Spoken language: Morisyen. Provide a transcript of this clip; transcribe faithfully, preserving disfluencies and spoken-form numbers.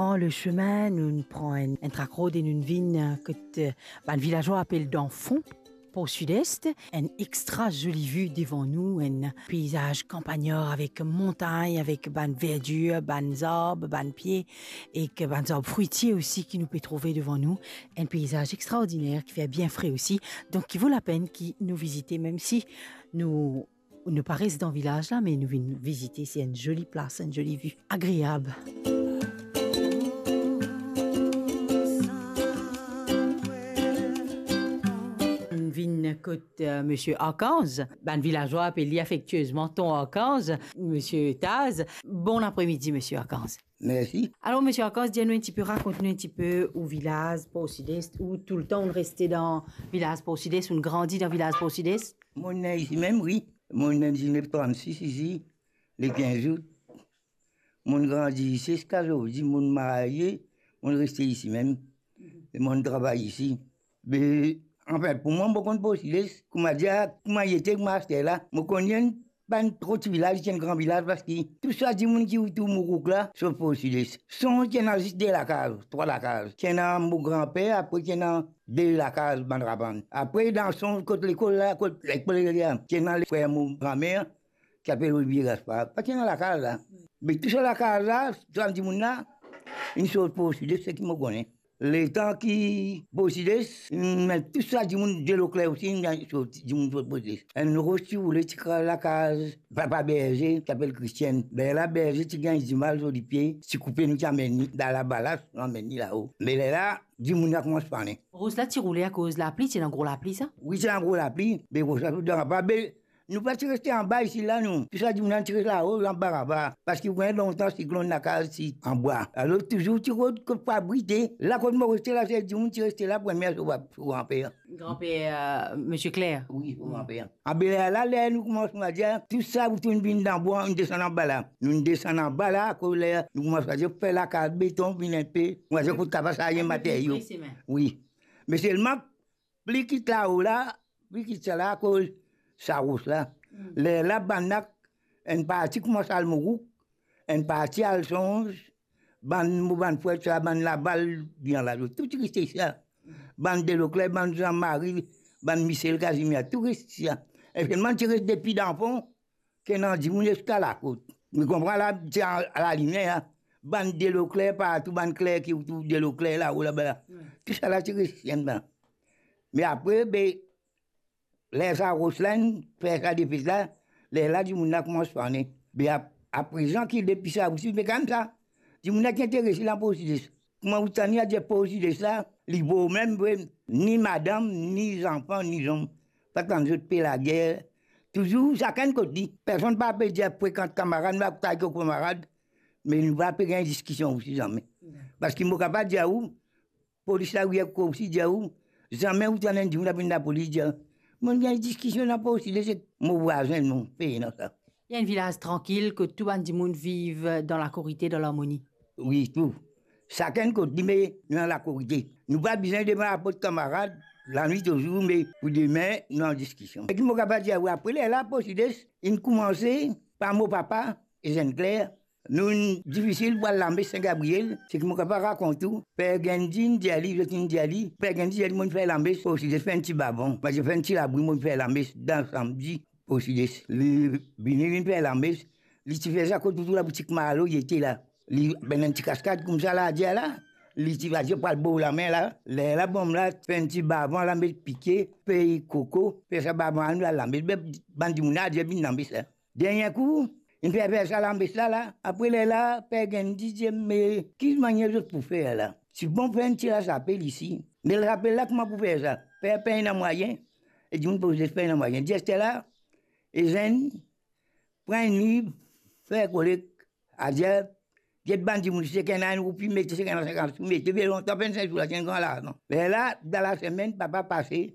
Pran le chemin, nou pran enn, enn trak rod e nou vinn, eh, kot, eh, bann vilazwa apel Dan Fon, Port Sud-Est, enn extra zoli vi devan nou, enn peyizaz kanpagnar avek montagn, avek bann verdir, bann zarb, bann pie, ek bann zarb fwitie osi ki nou pe trouve devan nou. Enn peyizaz extraordiner ki fer bien fre osi, donk ki vo lapenn ki nou vizite, mem si nou, nou pa res dan vilaz la, me nou vinn vizite, se enn zoli plas, enn zoli vi agreab. Nou vinn kot, eh, Misie Arkanz. Bann vilazwa apel li afektiezman Ton Arkanz, Misie Taz. Bon apremidi, Misie Arkanz. Mersi. Alor, Misie Arkanz, dir nou enn tipe, rakont nou enn tipe ou vilaz Port Sud-Est, ou toultan ou reste dan vilaz Port Sud-Est, ou grandi dan vilaz Port Sud-Est? Mo ne isi mem, wi. Mo ne isi, ne trannsis isi, le kinz out. Mo grandi isi ziska zordi, mo marye, mo reste isi mem. E mo travay isi. Be, anfin, pou mwa, mo konn Port Sud-Est, kouma dir, kouma li ete, kouma aster la. Mo konn enn bann tro ti vilaz, ti enn gran vilaz, parski tou sa dimoun ki otour Mourouk la, sot Port Sud-Est. Sonz ki ena zis de lakaz, trwa lakaz. Ki ena mo granper, apre ki ena de lakaz, bann rabann. Apre, dan Sonz kot lekol la, kot lekol la, ki ena le frer mo granmer, ki apel Olivier Gaspard. Pa ti ena lakaz la. Me tou sa lakaz la, sa dimoun la, inn sot Port Sud-Est, seki mo kone. Letan ki Port Sud-Est, me tou sa dimoun Delokler osi, inn sot, dimoun sot Port Sud-Est. Enn ros ti roule, ti kraz lakaz papa berze, ki apel Christian. Lerla berze ti gagn dimal lor lipie, ti koupe, nou ti amenn li dan labalas, nou amenn li lao. Me lerla, dimoun la koumans pane. Ros la ti roule akoz lapli, ti ena gro lapli sa? Wi, ti ena gro lapli, be ros la ti dan pa be Nou pa ti reste anba isi la, nou. Tou sa dimoun ti res lao, anba, anba. Parski ou konn lontan siklonn lakaz ti anbwa. Alor, touzour ti rod kot pou abrite. La kot mo reste la, se dimoun ti reste la, premie so, so granper. Granper, euh, Misie Kler. Wi, so granper. Abe lerla, ler nou koumans, nou va dir, tou sa, ou tou vinn dan bwa, nou desann anba la. Nou desann anba la, akoz ler nou koumans, va dir, fer lakaz beton, vinn enpe, nou va dir, kot kaba sa, enn materyo. Wi. Me selman, pli kit lao la, pli kit sa la, akoz sa ros la. Mm. Lerla, bann la, enn parti koumans al Mourouk, enn parti al Sonz, bann mo bann frer sa, bann Laval, bien la, zot tou ti reste isi la. Bann Delokler, bann Jean-Marie, bann Michel Casimir, tou reste isi la. E selman ti res depi Dan Fon, ki ena dimoun ziska lakot. Mo konpran la, ti a, a lalimier la. Bann Delokler partou, bann Kler ki otour Delokler lao, laba la. Wi. Tou sa la ti res isi la. Me apre, be, ler sa ros la inn fer sa defet la, lerla dimoun la koumans pane. Be ap-, aprezan ki depi sa osi, me kan sa, dimoun la ki interese dan Port Sud-Est. Kouma ou tann li a dir Port Sud-Est la, li bo mem, vre, ni madam, ni zanfan, ni zom. Pa tann zot pe lager. Touzour sakenn kot li. Personn pa pe dir frekant kamarad, nou pa kout kot kamarad, me nou pa pe gagn diskision osi zame. Parski mo kapav dir ou, polis la, wi, akoz osi dir ou, zame ou tann enn dimoun apel lapolis dir, mo gagn diskision dan Port Sud-Est ek mo vwazin, non, pena sa. Li enn vilaz trankil, kot tou bann dimoun viv dan lakorite, dan larmoni. Wi, tou. Sakenn kot li, me nou dan lakorite. Nou pa bizin demann laport kamarad, lanwit ozour, me pou demin, nou an diskision. E ki mo kapav dir ou, apre lerla, Port Sud-Est inn koumanse par mo papa, Ezenn Kler, nou inn difisil pou al lames Sin Gabriel, seki mo kapav rakont ou, Per Gandhi inn dir li, zot inn dir li, Per Gandhi dir li, mo inn fer lames Port Sud-Est, fer enn ti bavan, mo dir fer enn ti labri, mo inn fer lames dan samdi, Port Sud-Est. Li vini, li fer lames, li ti fer sa kot touzour laboutik Marlo, li ete la. Li benn enn ti kaskad koumsa la, dir la, li ti va dir pou al bor lame la. Lerla bonm la fer enn ti bavan la, met pike, fey koko, fer sa bavan la, nou al lames. Be bann dimoun la dir vinn lames la. Dernie kou, inn fer, fer sa lames la, la. Apre lerla, Per Gandhi dir, me ki manier zot pou fer la? Ti bon fer enn ti lasapel isi. Me lasapel la, kouma pou fer sa? Per pena mwayin. E dimoun pou zis pena mwayin. Dir aster la, Ezenn, pran enn liv, fer kolek, adir, get bann dimoun, seki ena enn roupi, mete, seki ena sinkant sou, mete, be lontan, vennsenk sou la, ti enn gran larzan. Lerla, dan lasemenn, papa pase,